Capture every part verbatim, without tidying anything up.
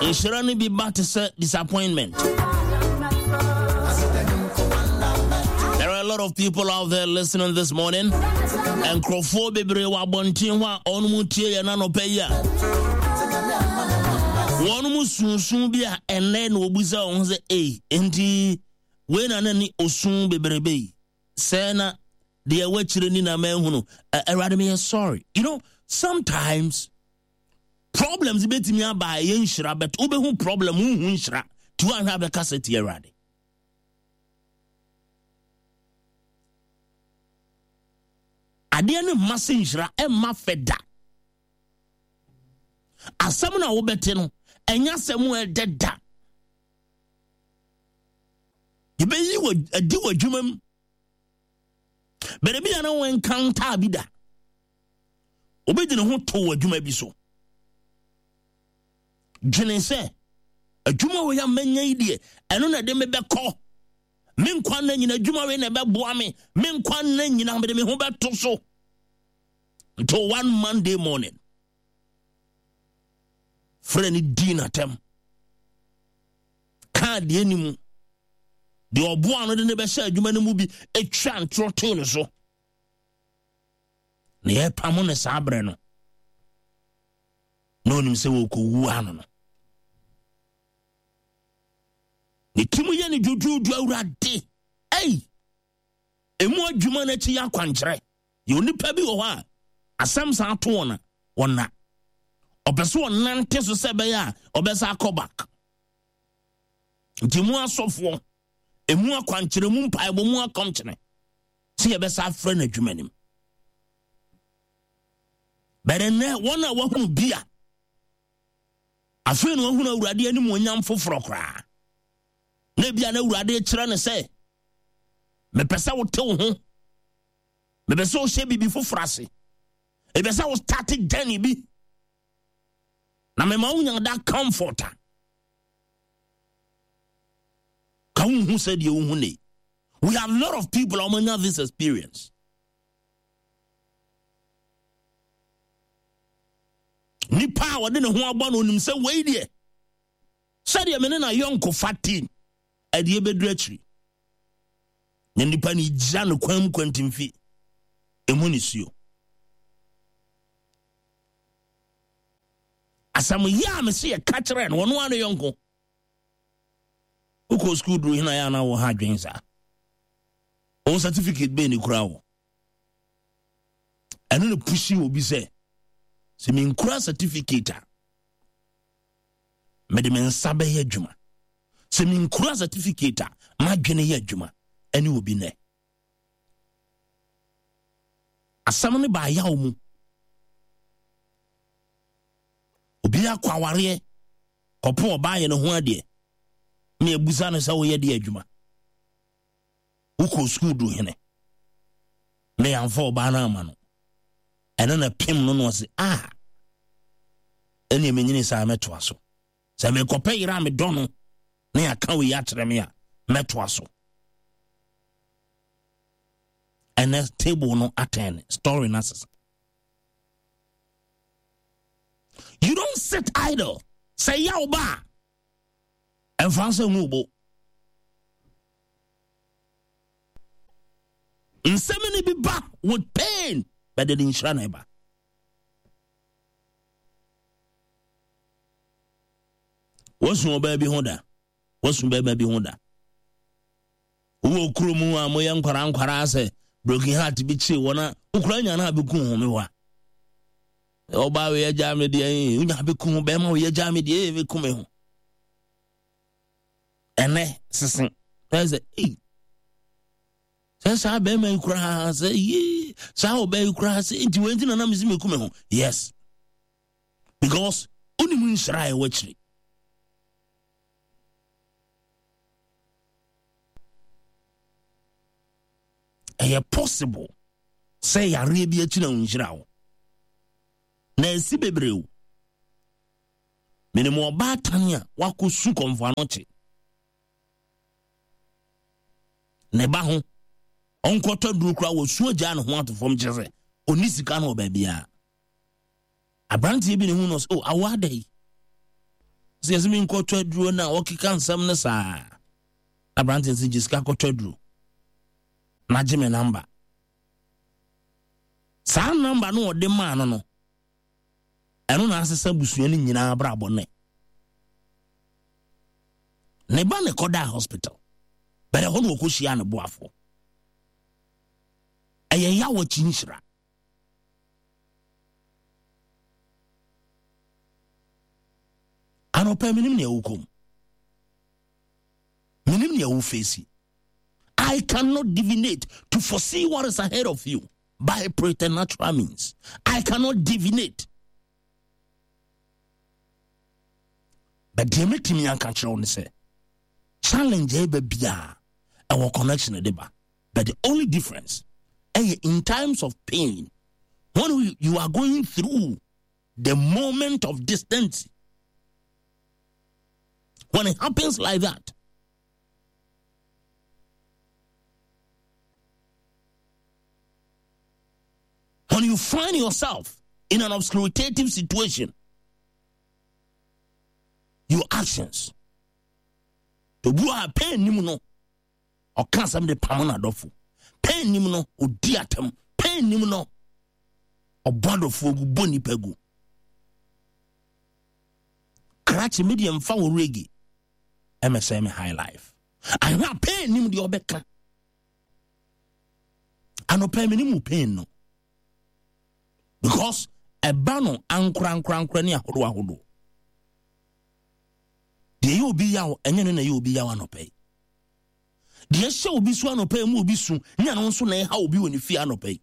Nhyira no bi ba te sɛ disappointment. There are a lot of people out there listening this morning. Nkurɔfoɔ bebree wɔ abɔnten hɔ a wɔn mu tie yɛn anɔpa yi a wɔn mu sunsun bi a ɛnɛ na wɔbusa wɔn ho sɛ ei, nti wei na na ni osun bebrebe yi sɛ na deɛ ɛwɔ akyire ni na mahunu. Awurade, meyɛ sorry. You know, sometimes problems bɛtumi aba a ɛyɛ nhyira, but wobɛhu problem, wonhu nhyira, nti woanhwɛ abɛka sɛ tie Awurade. Adeɛ no mma sɛ nhyira, ɛmma fɛ da. Asɛm no a wobɛte no, ɛnyɛ asɛm a ɛdɛ da. Yɛbɛyi wɔ adi wɔ adwuma mu. Baabi a na wɔn encounter bi da. Obi de ne ho to wɔ adwuma bi so. Dwene sɛ adwuma wɔ yɛ amanya yi deɛ, ɛno na ɛde me bɛkɔ. Me nkwa nna nyina adwuma wei na ɛbɛboa me. Me nkwa nna nyina mede me ho bɛto so. Until one Monday morning, frɛ ne di n'atɛm. Kaa deɛ ni mu. Deɛ ɔboa no de ne bɛhyɛ adwuma no mu bi atwa ntorɔ too ne so. Na yɛpamo ne saa berɛ no, na onim sɛ wɔkɔwu ano no. Ne tirim yɛ ne dwodwoodwo. Awurade, ei, emu adwuma no akyi yɛ akwankyerɛ. Yɛ onipa bi wɔ hɔ a asɛm saa to wɔn a wɔna ɔpɛ sɛ ɔnante so sɛ ɛbɛyɛ a ɔbɛsa akɔ back. Nti mu asɔfoɔ, emu akwankyerɛ, mu mpaebɔ, mu akɔmkyerɛ sɛ yɛbɛsa afrɛ no adwuma nim. Bɛrɛ nnɛ wɔn a wɔahunu bi a afei na wɔahunu Awurade anim onyam foforɔ koraa, na ebia na Awurade kyerɛ no sɛ mepɛ sɛ wote wo ho, mepɛ sɛ wohyɛ biribi foforɔ ase, mepɛ sɛ wo start journey bi, na mema wonya that comfort a ka wonhu sɛ deɛ wohu ne. We have a lot of people a wɔanya this experience. Nipa a wɔde ne ho abɔ no, onim sɛ wei deɛ, sɛdeɛ me ne na yɔnko fa team ɛdeɛ bɛduru akyiri, na nipa no gyina no kwan mu kwantimfi emu ne suo. Asɛm yɛ a me se yɛka kyerɛ no, ɔno ara ne yɔnko. Wokɔ sukuu duru hena yɛ ana wɔ ha adwen saa? Wɔn certificate bɛn ne kura wɔ ɛno ne push obi sɛ sɛ menkura certificate a, mede me nsa bɛyɛ adwuma. Sɛ menkura certificate a, madwene yɛ adwuma. Ɛne obi nɛ asɛm no baayaw mu. Obi akɔ awareɛ kɔpo ɔbaa yɛ ne ho adeɛ na ebusa no sɛ woyɛ deɛ adwuma, wokɔ sukuu du hene, na yɛamfa ɔbaa no ama no. Ɛno na pem no no ɔse a ɛne menyini saa mɛtoa so. Sɛ mekɔpɛ yere a medɔ no na yɛaka wei akyerɛ me a, mɛtoa so. Ɛnɛ table no atɛn, story no asesa. You don't sit idle. Sɛ yaw ba a, ɛmfa nsɛ ngu bo. Nsɛm no bi ba with pain, but de nhyira na ɛba. Wasu ɔbaa bi ho da, wasu bɛrima bi ho da. Wowɔ kurom a moyɛ nkwara nkwara sɛ broken heart bi kyee wɔn a wokura nya no a bɛku ho me hɔ a, ɔbaa wei agya me deɛ, wonya bɛku ho, bɛrima wei agya me deɛ, bɛku me ho. Ɛnɛ sese ɛsɛ sɛ ei, sɛ saa bɛrima yi koraa sɛ yee, saa ɔbaa yi koraa sɛ nti wei nti na nam si meku me ho. Yes, because wonim nhyira a ɛwɔ akyiri. Ɛyɛ possible sɛ yareɛ bi akyi na wo nhyira wo na ɛsi bebree o. Menim ɔbaatan a wakɔ su kɔmfo ano kye ne ba ho, ɔnkɔtɔ duro koraa, wɔ su agya ne ho ato fam, kyerɛ sɛ ɔni sika no wɔ baabiara. Aberanteɛ bi ne ho no sɛ, oh, awo ada yi Sɛ yɛsɛ mi nkɔtɔ aduro na ɔkeka nsɛm no saa, aberante sɛ gye sika kɔtɔ aduro na gye me number. Saa number no ɔde maa no no ɛno na asesa busua no nyinaa abrabɔ. Ne ne ba ne kɔdaa hospital bɛrɛ hɔ na wɔkɔhyia ne boafoɔ. Ɛyɛ yaw akyi nhyira. Anɔpɛ, menim nea wokɔm, menim nea wo face. I cannot divinate to foresee what is ahead of you by preternatural means. I cannot divinate, but deɛ mɛtumi anka kyerɛ wo ne sɛ challenge a ɛba biaa ɛwɔ connection de ba, but the only difference ɛyɛ in times of pain, when you are going through the moment of distance, when it happens like that, when you find yourself in an obscuritative situation, your actions, obi a pain nim no, ɔka asɛm de pam n'adɔfo. Pain nim no, odi atam. Pain nim no, ɔbɔ adɔfoɔ gu, bɔ nipa gu. Krakye mi deɛ, mfa wɔ reggae ɛmɛsɛn me high life. Ahwɛ a pain nim deɛ ɔbɛka. Anɔpɛ mi ni mu pain no, because ɛba no ankorankorankora ne ahodoɔ ahodoɔ. Deɛ ɛyɛ obi yaw, ɛnyɛ no na ɛyɛ obi yaw. Anɔpɛ yi, deɛ ɛhyɛ obi so anɔpɛ yi mu obi su nyɛ no nso na ɛha obi wɔ ne fie anɔpɛ yi.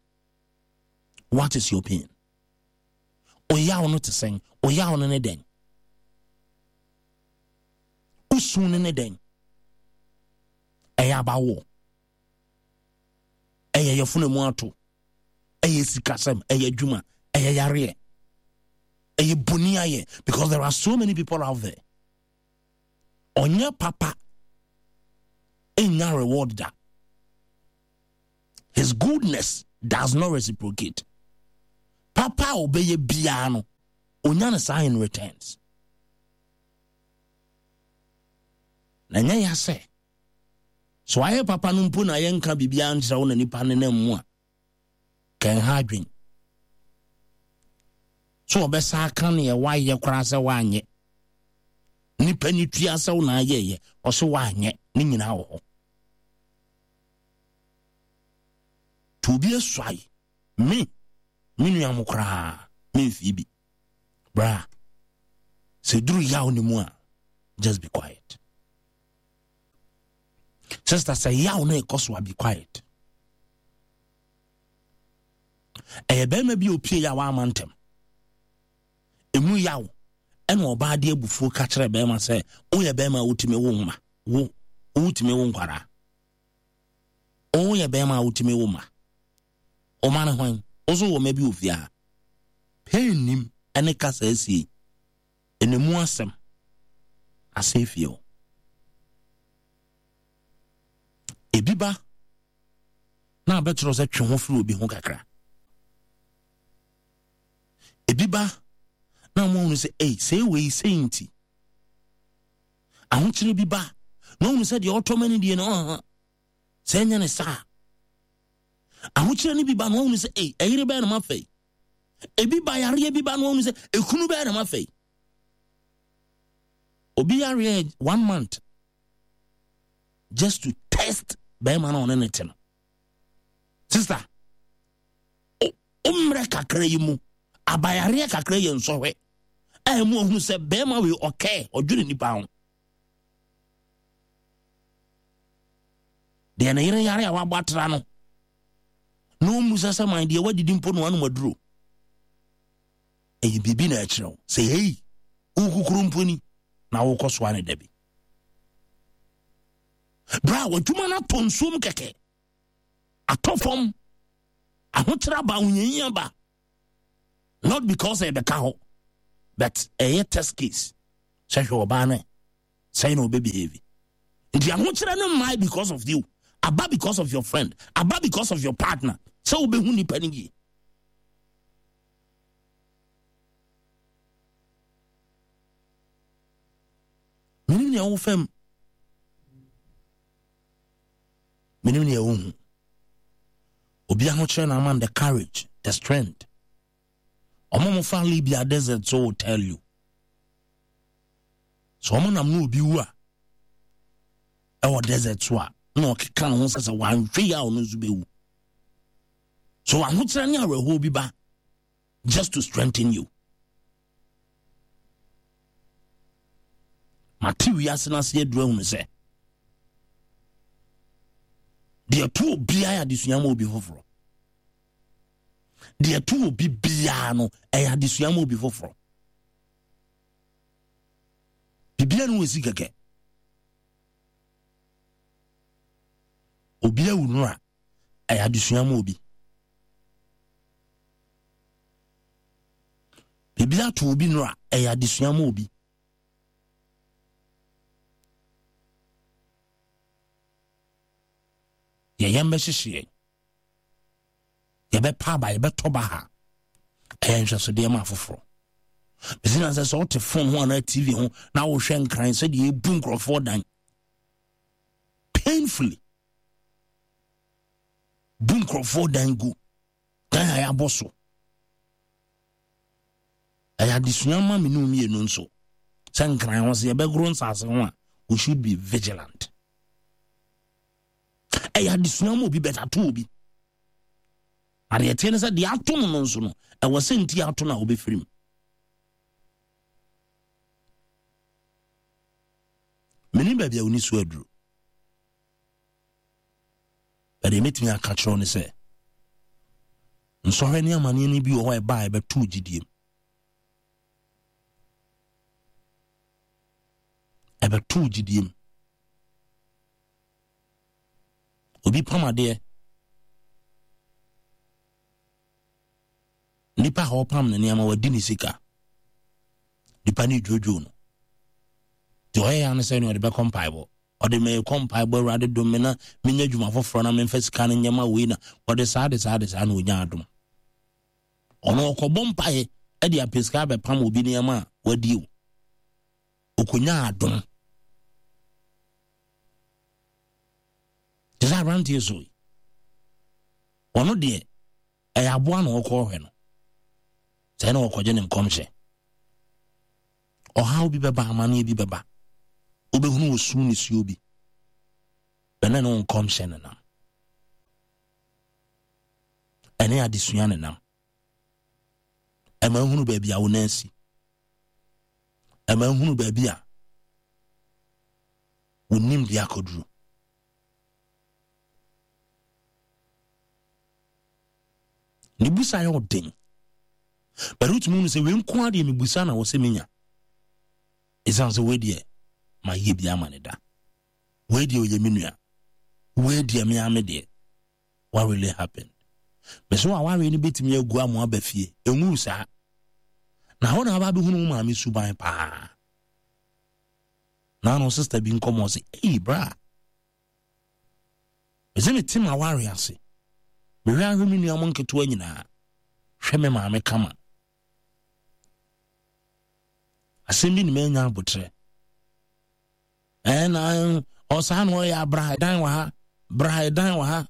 What is your pain? Ɔyaw no te sɛn? Ɔyaw no ne dɛn? Osu no ne dɛn? Ɛyɛ abawoɔ, ɛyɛ yɛfunu mu ato, ɛyɛ sikasɛm, ɛyɛ adwuma, ɛyɛ yareɛ, ɛyɛ boni ayɛ? Because there are so many people out there, ɔnyɛ papa ɛnya reward da. His goodness does not reciprocate. Papa a ɔbɛyɛ biara no, onya no saa in returns. Na nyɛ ya sɛ so ayɛ papa no mpo na yɛnka biribiara nkyerɛ wo na nipa ne nam mu a kɛnha adwen so ɔbɛsa aka neɛ woayɛ koraa sɛ woanyɛ. Nipa ni tua sɛ wo na ayɛyɛ, ɔso woanyɛ. Ne nyinaa wɔ hɔ nti obi asuae me me nua mo koraa memfii bi bra. Sɛ duru yaw ne mu a, just be quiet. Sister, sɛ yaw no ɛkɔ so a, be quiet. Ɛyɛ bɛrima bi a opie yɛ a wama ntɛm emu yaw, ɛna ɔbaa de abufuo ka kyerɛ bɛrima sɛ woyɛ bɛrima a wotumi wo ma wo, wotumi wo nkwaraa, woyɛ bɛrima a wotumi wo ma ɔma ne hwan wo so wɔ ma bi wɔ fie ha. Pain nim ɛne kasa asie ɛnemu asɛm asɛ fie o. Ebi ba na abɛkyerɛ sɛ twe ho firi obi ho kakra. Ebi ba na mo ahunu sɛ ei, sɛ wei sɛ nti ahokyere bi ba na ohunu sɛ deɛ ɔtɔ ma ne die no ɔha sɛ ɛnyɛ ne saa. Ahokyere no bi ba na ohunu sɛ ei, ɛyere bɛyɛ na ma fɛ. Ebi ba, yareɛ bi ba na ohunu sɛ ekunu bɛyɛ na ma fɛ. Obi yareɛ one month just to test bɛrima na ɔne ne te no. Sister, o mmerɛ kakra yi mu abayareɛ kakra yɛ nsɔhwɛ a ɛmu ohunu sɛ bɛrima wei ɔkɛɛ ɔdwene nipa ho. Deɛ ne yere yare a wabɔ atra no na ɔmmu sɛ sɛ man deɛ wadidi mpo no anom aduro, ɛyɛ biribi na ɛkyerɛ wo sɛ hei, wokukuru mpo ni na wokɔ soa ne da bi berɛ a w'adwuma no atɔ nsuom kɛkɛ, atɔ fam, ahokyerɛ aba, ahohiahia aba, not because ɛbɛka hɔ, but ɛyɛ test case sɛ hwɛ ɔbaa no sɛn na ɔbɛbehave. Nti ahokyerɛ no mmae because of you, aba because of your friend, aba because of your partner, sɛ wobɛhu nipa no yie. Menim nea wo fam. Menim nea wo hu. Obi ahokyerɛ na ama the courage, the strength. Ɔmo mo fa Libya desert so will tell you. So ɔmo nam no obi wu a ɛwɔ desert so a na ɔkeka ne ho sɛ sɛ wanhwɛ yi a ɔno nso bɛwu. So ahokyerɛ ne awerɛhoɔ bi ba just to strengthen you. Mate wiase no ase aduru ahunu sɛ deɛ to obiara yɛ adesua ma obi foforɔ. Deɛ to obi biara no ɛyɛ adesua ma obi foforɔ. Biribiara no wɔ si kɛkɛ. Obi awu no a ɛyɛ adesua ma obi. Biribi ato obi no a ɛyɛ adesua ma obi. Yɛyɛ mbɛhyehye yɛn. Yɛbɛpa aba, yɛbɛtɔ ba ha. Ɛyɛ nhwɛsodeɛ ma afoforɔ. Bɛsi na sɛ sɛ wote phone ho anaa T V ho na wohwɛ nkran sɛdeɛ ɛbu nkurɔfoɔ dan. Painfully. Bu nkurɔfoɔ dan gu. Dan a yɛabɔ so. Ɛyɛ adesua ma me ne wo mmienu nso. Sɛ nkran ho sɛ yɛbɛgoro nsase ho a, we should be vigilant. Ɛyɛ adesua ma obi bɛtato obi. Adeɛ teɛ ne sɛ deɛ ato no no nso no, ɛwɔ sɛ nti ato no a wobɛfiri mu. Menim baabi a woni so aduru. Ɛdeɛ mɛtumi aka kyerɛ wo ne sɛ, nsɔhwɛ ne amanneɛ no bi wɔ hɔ a ɛba a ɛbɛto gyidie mu. Ɛbɛto gyidie mu. Obi pam adeɛ. Nipa a ɔpam ne nneɛma wadi ne sika. Nipa ne dwodwo no. Deɛ ɔyɛ ya ne sɛ ne ɔde bɛkɔ mpaebɔ. Ɔde me kɔ mpaebɔ Awurade dom me na menya adwuma foforɔ na memfa sika no nyɛma wei na ɔde saa de saa de saa na ɔnya adom. Ɔno ɔkɔbɔ mpaeɛ ɛde apɛ sika abɛpam obi nneɛma a wadi o. Ɔkɔnya adom. Te sɛ aberanteɛ so yi. Ɔno deɛ ɛyɛ aboa na ɔkɔ ɔhwɛ no. Sɛ na ɔkɔgye ne nkɔmhyɛ. Ɔhaw bi bɛba, amanneɛ bi bɛba. Wobɛhunu osu ne suo bi. Bɛnɛ ne wo nkɔmhyɛ ne nam. Ɛne adesua ne nam. Ɛma nhunu baabi a wo nan si. Ɛma nhunu baabi a wo nim de akɔduru. Ne busa yɛ ɔden. Bɛrɛ wotumi hunu sɛ wei nko ara deɛ mebusa na wɔ sɛ menya. Ɛsiane sɛ wei deɛ mayɛ bi ama ne da. Wei deɛ ɔyɛ me nua. Wei deɛ me ame deɛ. What really happened? Bɛsɛ wɔ awareɛ no bɛtumi agu ama aba fie. Ɛnwu saa. Na hɔ na aba abɛhunu wo maame suban paa. Na ano sister bi nkɔmmɔ sɛ, ei bra. Bɛsɛ mete ma awareɛ ase. Mehwɛ ahwɛ me nua mo nketewa nyinaa. Hwɛ me maame kama. Asɛm bi ne manya abotrɛ. Ɛna ɔsaa na ɔyɛ abra dan wɔ ha. Bra dan wɔ ha.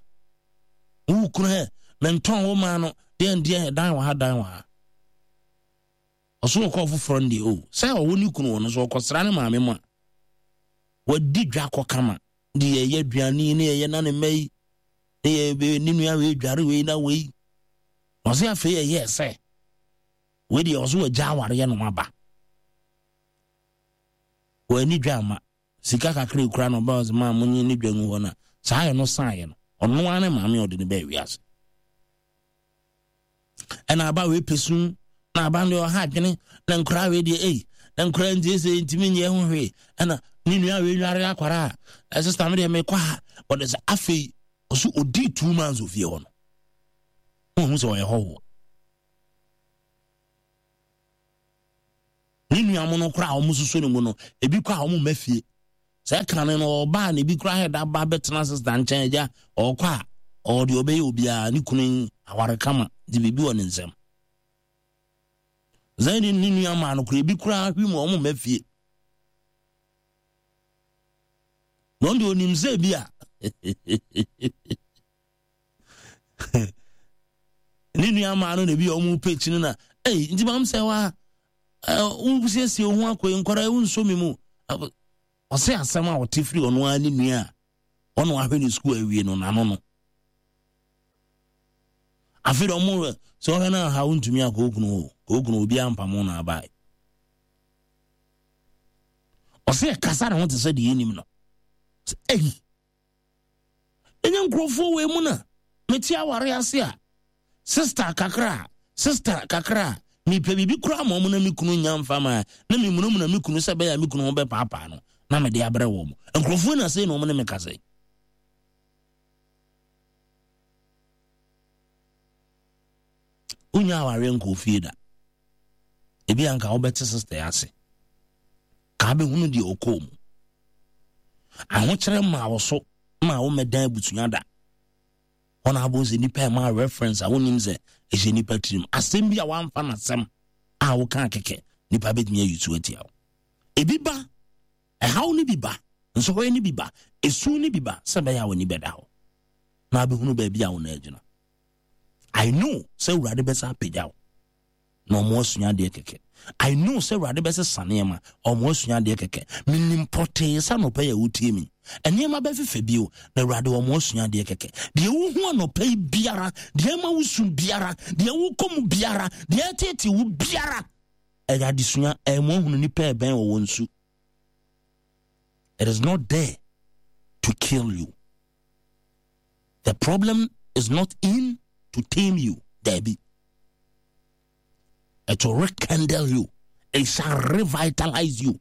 Wo kunu hɛ, mentɔn wo maa no, deɛ ndeɛ dan wɔ ha, dan wɔ ha. Ɔso ɔkɔ foforɔ no deɛ o, sɛ ɔwɔ ne kunu wɔ no so ɔkɔsra ne maame mu a, wadi dwa kɔ kama. De yɛyɛ aduane ne yɛyɛ na ne mma yi, ne yɛ ne nua wei dware wei na wei. Ɔse afei ɛyɛ sɛ, wei deɛ ɔso wagya awareɛ no aba. W'ani dwa ama. Sika kakra ekura no ɔbɛn ɔsɛ maa mo nye ne dwa ngu hɔ na saa yɛ no san yɛ no. Ɔno ara ne maame ɔde ne bɛɛ wiase. Ɛna aba wei pɛ na aba no ɔha adwene na nkora wei deɛ ei na nkora nti sɛ ntumi nyɛ ho hwee. Ɛna ne nua wei nware akwara a ɛsɛ me deɛ mekɔ ha. Ɔde sɛ afei ɔso ɔdii two months ofie hɔ no. Wohu sɛ ɔyɛ hɔhoɔ. Ne nua mo no koraa a wɔn soso ne mu no ebi kɔ a wɔn mma fie. Sɛ ɛka no no ɔbaa na ebi koraa hɛ da ba bɛtena sista nkyɛn agya ɔkɔ a ɔde ɔbɛyɛ obiara ne kunu aware kama de biribi wɔ ne nsam. Zɛn ne nua maa no koraa ebi koraa hwi mu wɔn mma fie. Na ɔno deɛ onim sɛ bi a ne nua maa no na bi a ɔmo pɛ akyi no na ei nti maam sɛ wa wosiesie wo ho akɔ yi nkwadaa wo nso mi mu. Ɔsɛ asɛm a ɔte firi ɔno ara ne nua a ɔno ahwɛ ne sukuu awie no n'ano no. Afei de ɔmo sɛ ɔhwɛ no aha wontumi akɔ okunu hɔ okunu obi ampamo na abae. Ɔsɛ ɛkasa ne ho te sɛ deɛ ɛnim no. Sɛ ei ɛnyɛ nkurɔfoɔ wei mu na mete aware ase a sister kakra sister kakra mepɛ biribi koraa ma ɔmo na me kunu nya mfa ma na memunamuna me kunu sɛ bɛyɛ a me kunu ho bɛpaapaa no na mede abrɛ wɔ mo. Nkurɔfoɔ na sei na ɔmo ne me kasa yi. Wonya awareɛ nkɔ fie da. Ebi anka wobɛte sister ase. Ka bɛhunu deɛ ɔkɔɔ mu. Ahokyerɛ ma wo so ma wo mɛdan abusua da. Wɔn abɔ sɛ nipa ɛma reference a wonim sɛ ɛhyɛ nipa tirim. Asɛm bi a wamfa n'asɛm a woka kɛkɛ nipa bɛtumi ayi so atia wo. Ebi ba, ɛhaw no bi ba, nsɔhwɛ no bi ba, esu no bi ba sɛ bɛyɛ a w'ani bɛda hɔ. Na abɛhunu baabi a wo na agyina. I know sɛ Awurade bɛsa apagya wo na ɔmo asua adeɛ kɛkɛ. I know sɛ Awurade bɛsesa nneɛma ɔmo asua adeɛ kɛkɛ. Menim pɔtee sɛ anɔpa yi a wotie mi nneɛma bɛfefɛ bio na Awurade ɔmo asua adeɛ kɛkɛ. Deɛ wohu anɔpa yi biara, deɛ ɛma wo su biara, deɛ wokɔ mu biara, deɛ ɛtete wo biara, ɛyɛ adesua. Ɛmo ahunu nipa ɛbɛn wɔ wɔn su. It is not there to kill you. The problem is not in to tame you, Debbie. It will rekindle you. It shall revitalize you.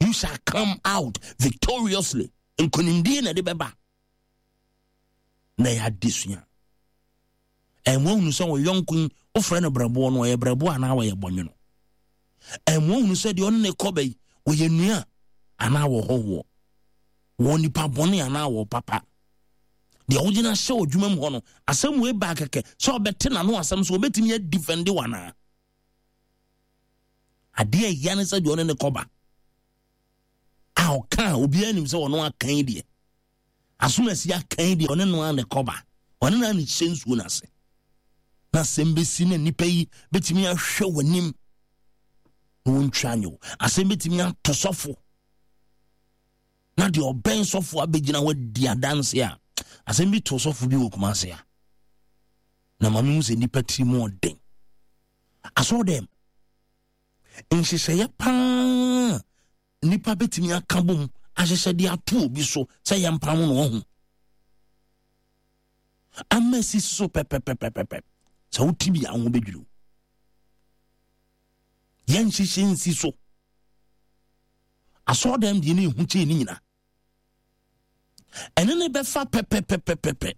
You shall come out victoriously. Nkonimdie na de bɛba. Na yɛ adesua. Ɛmo ahunu sɛ wɔyɔnko yi wofrɛ no brɛboɔ no ɔyɛ brɛboɔ anaa wɔyɛ bɔnwono. Ɛmo ahunu sɛ deɛ ɔne ne kɔba yi wɔyɛ nua anaa wɔhɔhoɔ. Wɔ nipa bɔne anaa wɔ papa. Deɛ wogyina hyɛ wɔ adwuma mu hɔ no asɛm wei baa kɛkɛ sɛ ɔbɛte n'ano asɛm so ɔbɛtumi adifɛnde wɔ anaa. Adeɛ ɛya ne sɛ deɛ ɔne ne kɔba a ɔka a obiara nim sɛ ɔno akan deɛ asomasi akan deɛ ɔne no a ne kɔba ɔne no a ne hyɛ nsuo no ase na asɛm bɛsi na nnipa yi bɛtumi ahwɛ w'anim na wɔntwa nyɛ wo. Asɛm bɛtumi ato sɔfo na deɛ ɔbɛn sɔfo abɛgyina hɔ adi adanse a asɛm bi to sɔfo bi wɔ Kumase a na maame hu sɛ nnipa tiri mu ɔden. Asɔɔ dɛm nhyehyɛeɛ paa nnipa bɛtumi aka bom ahyehyɛ de ato obi so sɛ yɛmpam no ɔho ama si so pɛpɛpɛpɛpɛ sɛ wote bi a wo ho bɛdwiri wo. Yɛnhyehyɛ nsi so. Asɔɔ dɛm deɛ ne ɛhu kyɛɛ ne nyina ɛne ne bɛfa pɛpɛpɛpɛpɛ.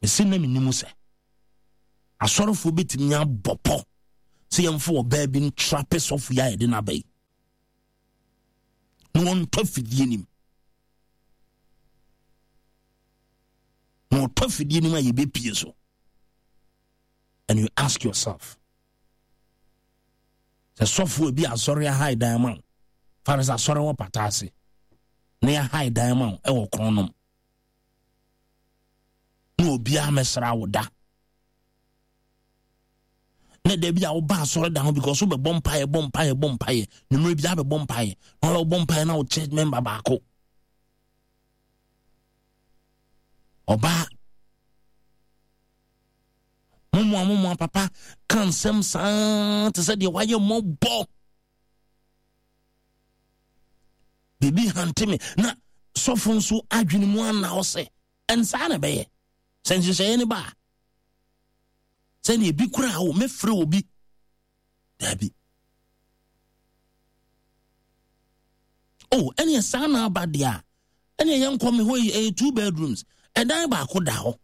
Mese na menim sɛ asɔrefoɔ bɛtumi abɔ pɔ sɛ yɛmfa ɔbaa bi ntrape sɔfo yi a yɛde no aba yi na wɔntɔ afidie nim na wɔtɔ afidie nim a yɛbɛpie so. And you ask yourself sɛ sɔfo bi asɔre ahae dan ma wo fa no sɛ asɔre wɔ pata ase na yɛahae dan ma wo ɛwɔ kronom na obiara mɛsra wo da na da bi a woba asɔre da ho because wobɛbɔ mpaeɛ bɔ mpaeɛ bɔ mpaeɛ nwummerɛ bi abɛbɔ mpaeɛ na wobɛbɔ mpaeɛ na wo church member baako ɔbaa momoa momoa papa ka nsɛm saa te sɛ deɛ wayɛ mmɔbɔ biribi hante me na sɔfo nso adwene mu ana wo sɛ ɛnsaa na ɛbɛyɛ sɛ nhyehyɛeɛ no ba a sɛdeɛ ebi koraa wo mɛfrɛ obi daabi oh ɛneɛ saa na aba deɛ a ɛneɛ yɛnkɔ me hɔ yi ɛyɛ two bedrooms ɛdan baako da hɔ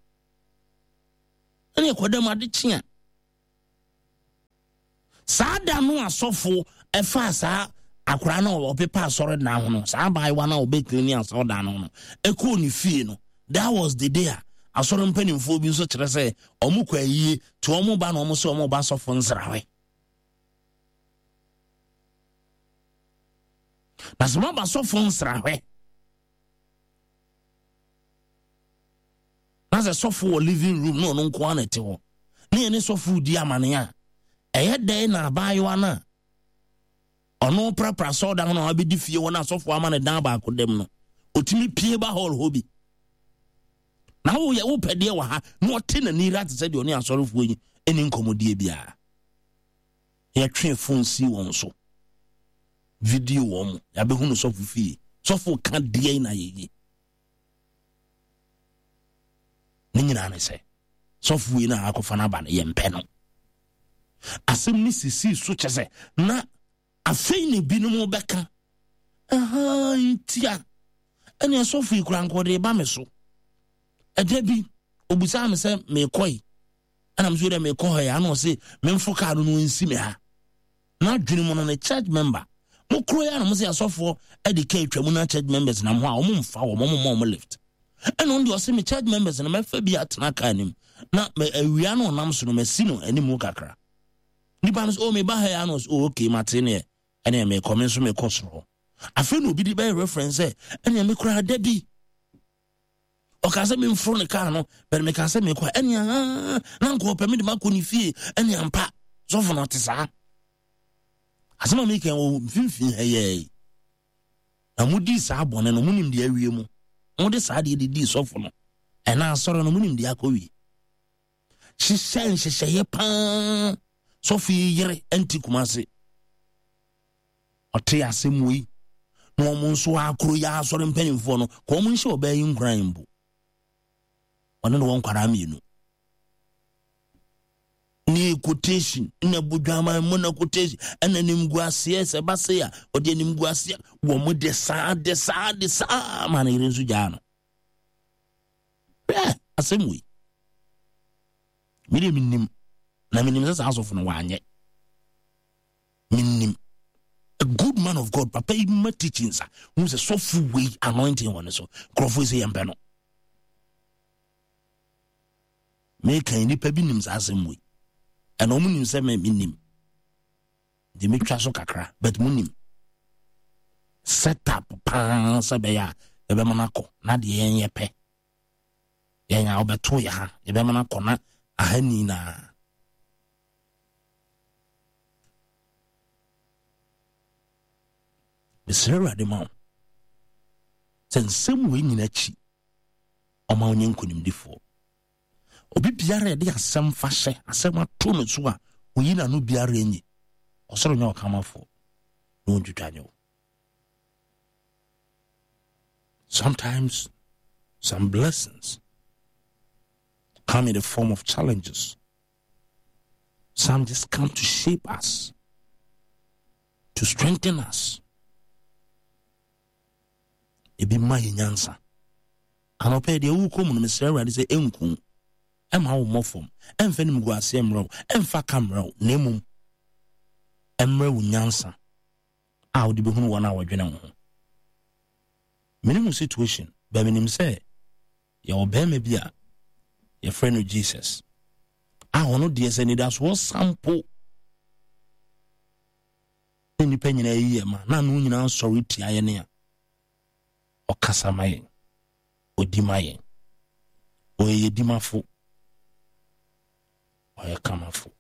ɛneɛ kɔdam ade kye a saa da no asɔfo ɛfa saa akwaraa no a ɔpepa asɔre dan ho no saa abaayewa no a ɔbɛkiri ne asɔre dan no no ɛkɔɔ ne fie no that was the day a asɔre mpanimfoɔ bi nso kyerɛ sɛ ɔmo kɔ ayie to ɔmo ba na ɔmo sɛ ɔmo ba asɔfo nsrahwɛ. Na sɛ moaba sɔfo nsrahwɛ na sɛ sɔfo wɔ living room na ɔno nko ara na ɛte hɔ ne yɛne sɔfo di amane a, ɛyɛ dɛn na abaayewa no a ɔno prapra sɔɔdan no a wabɛdi fie hɔ na asɔfo ama no dan baako dɛm no ɔtumi pie ba hall hɔ bi na woyɛ wopɛ deɛ wɔ ha na ɔte n'ani ra te sɛ deɛ ɔne asɔrefoɔ yi ɛni nkɔmmɔdie biara. Yɛtwe fon si wɔn so, video wɔn mu, yɛabɛhu no sɔfo fie, sɔfo ka deɛ na yɛyi ne nyinaa ne sɛ sɔfo yi na akɔfa no aba no yɛmpɛ no. Asɛm ne sisii so kyɛ sɛ na afei ne binom bɛka aha ntia ɛne sɔfo yi kora nkɔde ba me so. Ɛda bi obusaa me sɛ mekɔe ɛna me so dɛ mekɔ hɔ yɛ ana ɔse memfo kaa no no nsi me ha. Na adwene mu no ne church member mo kuro yɛ na mo sɛ asɔfoɔ ɛde kaa atwa mu na church members nam hɔ a ɔmo mfa wɔn, ɔmo mma ɔmo lift. Ɛna ɔno deɛ ɔse me church members na mɛfa bi atena kaa anim na awia no ɔnam so no masi no anim kakra. Nipa no sɛ oh meba ha yɛ ana ɔse oh okay mate neɛ ɛne mekɔ me nso mekɔ soro hɔ. Afei na obi de bɛyɛ reference sɛ ɛne me koraa da bi ɔka sɛ memforo ne kaa no bɛne meka sɛ mekɔ ɛne aha na nka ɔpɛ me de makɔ ne fie ɛne ampa sɔfo no ɔte saa. Asɛm a meka wɔ mfimfini ha yɛi na modii saa bɔne no monim deɛ awie mu, mode saa deɛ de dii sɔfo no ɛna asɔre no monim deɛ akɔwie. Hyehyɛ nhyehyɛeɛ paa sɔfo yi yere nti Kumase ɔte asɛm wei na wɔn nso akoro yɛ asɔre mpanimfoɔ no ka wɔn nhyɛ ɔbaa yi nkuran mpo ɔne ne wɔn nkwadaa mmienu ne quotation na budwama mu na quotation ɛna nimguaseɛ sɛ ba se a ɔde nimguaseɛ wɔn de saa de saa de saa ma ne yere nso gyaa no. Hwɛ asɛm wei mi de mi nim na mi nim sɛ saa asɔfo no wanyɛ mi nim. A good man of God, papa yi ma teachings a hu sɛ sɔfo wei anointing wɔ ne so nkurɔfoɔ yi sɛ yɛmpɛ no. Meka nnipa bi nim saa asɛm wei ɛna ɔmo nim sɛ me nim nti metwa so kakra but mo nim set up paa sɛ bɛyɛ a yɛbɛma no akɔ na deɛ yɛn yɛ pɛ yɛn a wɔbɛto yɛ ha yɛbɛma no akɔ na aha nyinaa. Mesrɛ Awurade ma wo sɛ nsɛm wei nyina akyi ɔma wo nyɛ nkonimdifoɔ. Obi biara yɛde asɛm fa hyɛ asɛm ato no so a oyi n'ano biara nyi ɔsoro nyɛ ɔkamafoɔ na ɔntwitwa nyɛ wo. Sometimes some blessings come in the form of challenges. Some just come to shape us, to strengthen us. Ebi ma yɛ nyansa. Anɔpɛ deɛ wokɔ mu no mesrɛ Awurade sɛ ɛnku ɛma wo mmɔ fam, ɛmfa nimguaseɛ mmerɛ wo, ɛmfa ka mmerɛ wo, na mmom ɛmmerɛ wo nyansa a wode bɛhunu wɔn a wɔdwene wo ho. Menim wo situation, bɛ menim sɛ yɛwɔ bɛrima bi a yɛfrɛ no Jesus a ɔno deɛ sɛ nidasoɔ sampo ne nnipa nyinaa yi yɛ ma na ano nyinaa sɔre tia yɛn a ɔkasa ma yɛn, ɔdi ma yɛn, ɔyɛ yɛdimafo, ɔyɛ kamafo.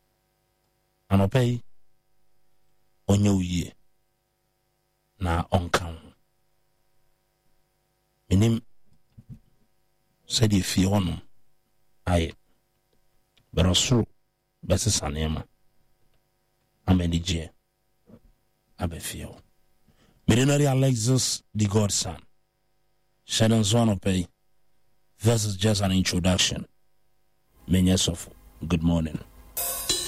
Anɔpa yi ɔnyɛ wo yie na ɔnka wo ho. Menim sɛdeɛ fie hɔnom ayɛ bɛrɛ ɔsoro bɛsesa nneɛma ama anigyeɛ aba fie hɔ. Mede no de Alexis the Godson hyɛ no nso anɔpa yi. This is just an introduction. Menyɛ sɔfo. Good morning.